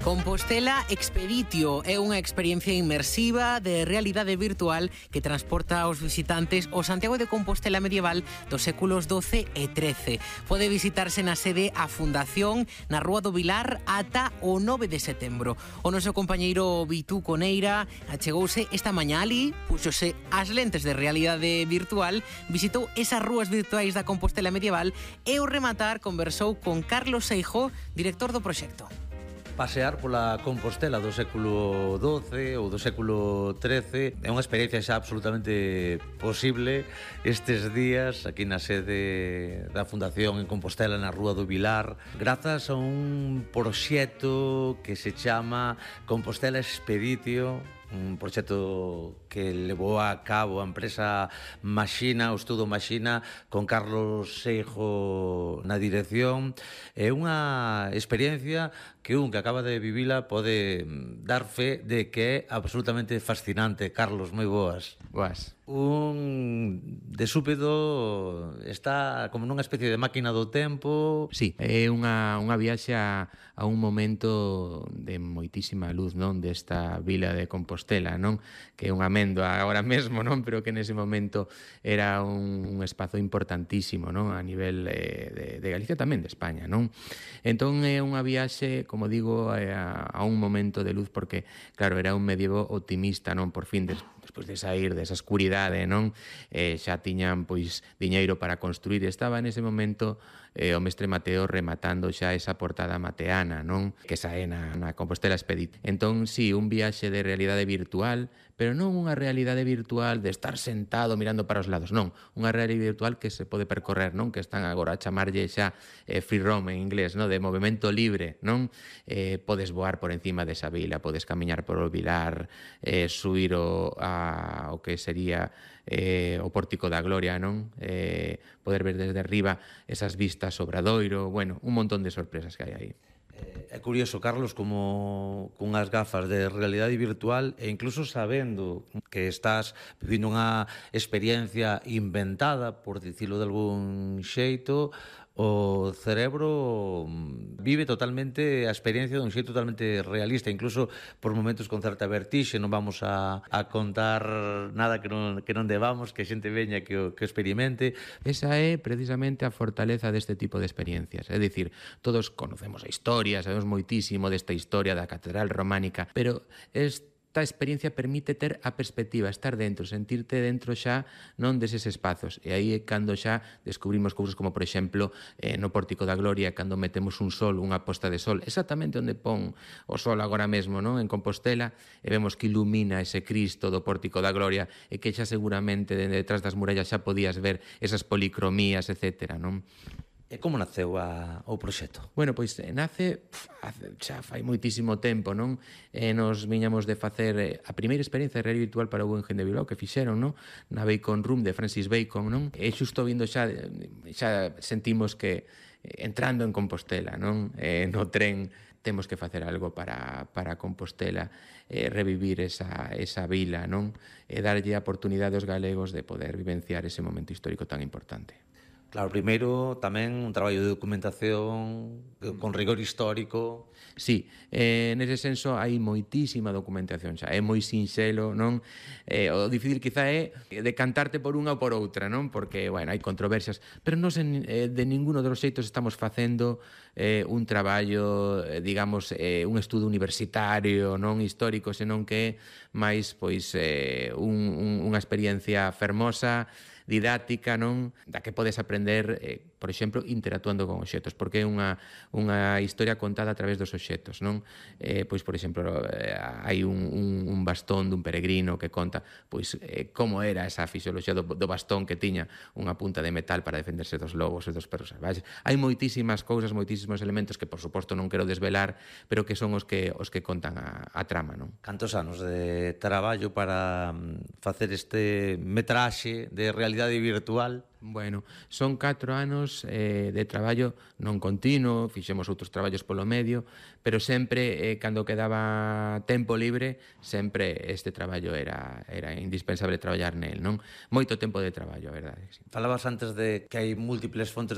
Compostela Expeditio é unha experiencia inmersiva de realidade virtual que transporta aos visitantes ao Santiago de Compostela medieval dos séculos XII e XIII. Pode visitarse na sede a Fundación na Rúa do Vilar ata o 9 de setembro. O noso compañeiro Vitú Coneira achegouse esta mañá ali, puxose as lentes de realidade virtual, visitou esas rúas virtuais da Compostela medieval e ao rematar conversou con Carlos Seijó, director do proxecto. Pasear pola Compostela do século XII ou do século XIII é unha experiencia xa absolutamente posible estes días aquí na sede da Fundación en Compostela na Rúa do Vilar, grazas a un proxecto que se chama Compostela Expeditio, un proxecto que levou a cabo a empresa Maxina, o estudo Maxina, con Carlos Seijó na dirección. É unha experiencia que que acaba de vivila pode dar fe de que é absolutamente fascinante. Carlos, moi boas. Boas. De súpedo está como nunha especie de máquina do tempo. Sí, é unha viaxe a un momento de moitísima luz, non, desta vila de Compostela, non, que é unha améndoa agora mesmo, non, pero que nese momento era un espazo importantísimo, non, a nivel de Galicia, tamén de España, non. Entón é unha viaxe, como digo, a un momento de luz, porque, claro, era un medievo optimista, non, por fin, despois de sair desa escuridade, non, xa tiñan, pois, diñeiro para construir. Estaba nese momento o mestre Mateo rematando xa esa portada mateana, non, que sae na Compostela Expedit. Entón, sí, un viaxe de realidade virtual, pero non unha realidade virtual de estar sentado mirando para os lados, non, unha realidade virtual que se pode percorrer, non, que están agora a chamarlle xa free roam en inglés, non, de movimento libre, non, podes voar por encima desa vila, podes camiñar por o Vilar, subir o que sería o Pórtico da Gloria, non, poder ver desde arriba esas vistas sobre Obradoiro, bueno, un montón de sorpresas que hai aí. É curioso, Carlos, como cunhas gafas de realidade virtual e incluso sabendo que estás vivindo unha experiencia inventada, por dicilo de algún xeito, o cerebro vive totalmente a experiencia dun xeito totalmente realista, incluso por momentos con certa vertixe. Non vamos a contar nada que non debamos, que a xente veña que o experimente. Esa é precisamente a fortaleza deste tipo de experiencias. É dicir, todos conocemos a historia, sabemos moitísimo desta historia da Catedral Románica, pero esta experiencia permite ter a perspectiva, estar dentro, sentirte dentro xa non deses espazos. E aí é cando xa descubrimos cousas como, por exemplo, no Pórtico da Gloria, cando metemos un sol, unha posta de sol, exactamente onde pon o sol agora mesmo, non, en Compostela, e vemos que ilumina ese Cristo do Pórtico da Gloria, e que xa seguramente detrás das murallas xa podías ver esas policromías, etcétera, non? E como naceu o proxecto? Bueno, pois nace xa fai moitísimo tempo, non? Nos viñamos de facer a primeira experiencia de realidade virtual para o Guggenheim de Bilbao que fixeron, non? Na Bacon Room de Francis Bacon, non? E xusto vindo xa sentimos que entrando en Compostela, non? No tren temos que facer algo para Compostela, revivir esa vila, non? E darlle a oportunidade aos galegos de poder vivenciar ese momento histórico tan importante. Claro, primeiro tamén un traballo de documentación con rigor histórico. Sí, nese senso hai moitísima documentación xa, é moi sinxelo, non? O difícil quizá é decantarte por unha ou por outra, non? Porque, bueno, hai controversias, pero non de ninguno dos xeitos estamos facendo un traballo, digamos, un estudo universitario, non histórico, senón que é máis, pois, unha experiencia fermosa, didáctica, non, da que podes aprender, por exemplo, interactuando con obxectos, porque é unha historia contada a través dos obxectos, non? Pois, por exemplo, hai un bastón dun peregrino que conta pois como era esa fisioloxía do bastón, que tiña unha punta de metal para defenderse dos lobos e dos perros salvaxes. Hai moitísimas cousas, moitísimos elementos que, por suposto, non quero desvelar, pero que son os que contan a trama, non? Cantos anos de traballo para facer este metraxe de realidade virtual? Bueno, son 4 anos de traballo non continuo, fixemos outros traballos polo medio, pero sempre, cando quedaba tempo libre, sempre este traballo era indispensable traballar nel, non? Moito tempo de traballo, a verdade. Sí. Falabas antes de que hai múltiples fontes